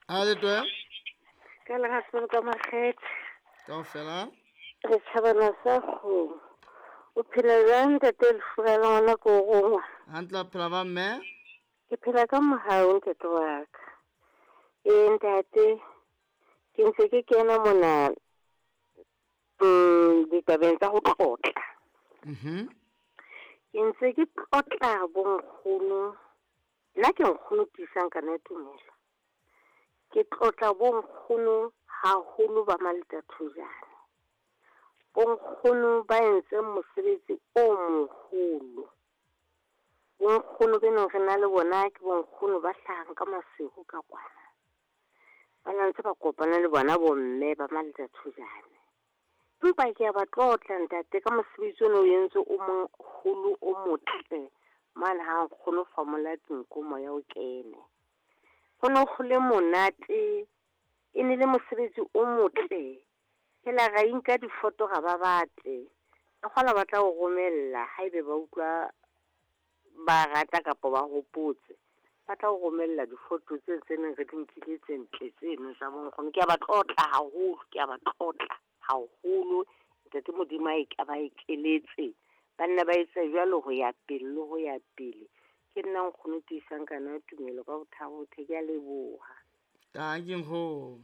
A le twe. Ka lerato ka makgethe. Kaofela. Re tjhabana sa kgomo. O phela jwang ntate Lefura la ngwana ko rongwa? Hantle a phela ba mme. Ke phela ka mohau ntate wa ka. Ee ntate, ke ntse ke kena mona ditabeng tsa ho tlotla. Ke ntse ke tlotla bonkgono. Nna ke nkgono tiisang kana tumelo. Ke tlotla bonkgono haholo ba Maletathojane. Bonkgono ba entseng mosebetsi o moholo. Bonkgono be neng re na le bona ke bonkgono ba hlahang ka Maseru ka kwana. Ba na ntse ba kopana le bona bomme ba Maletathojane. Empa ke a ba tlotla ntate ka mosebetsi ono o entse o moholo o motle mane ha nkgono famola dinko moya o kene. Ho no ho le monate, e ne le mosebetsi o motle. Phela ra inka difoto ra ba batle. Ka kgola ba tla o romella haebe ba utlwa ba rata kapa ba hopotse. Ba tla o romella difoto tse tse neng re di nkile tse ntle tseno tsa bonkgono. Ke a ba tlotla haholo, ke a ba tlotla haholo. Ntate Modimo a e ba ekeletse. Ba nna ba etsa jwalo ho ya pele le ho ya pele. Ke nna nkgono tiisang kana tumelo ka bothabothe. Ke a leboha. Tanki nkgono.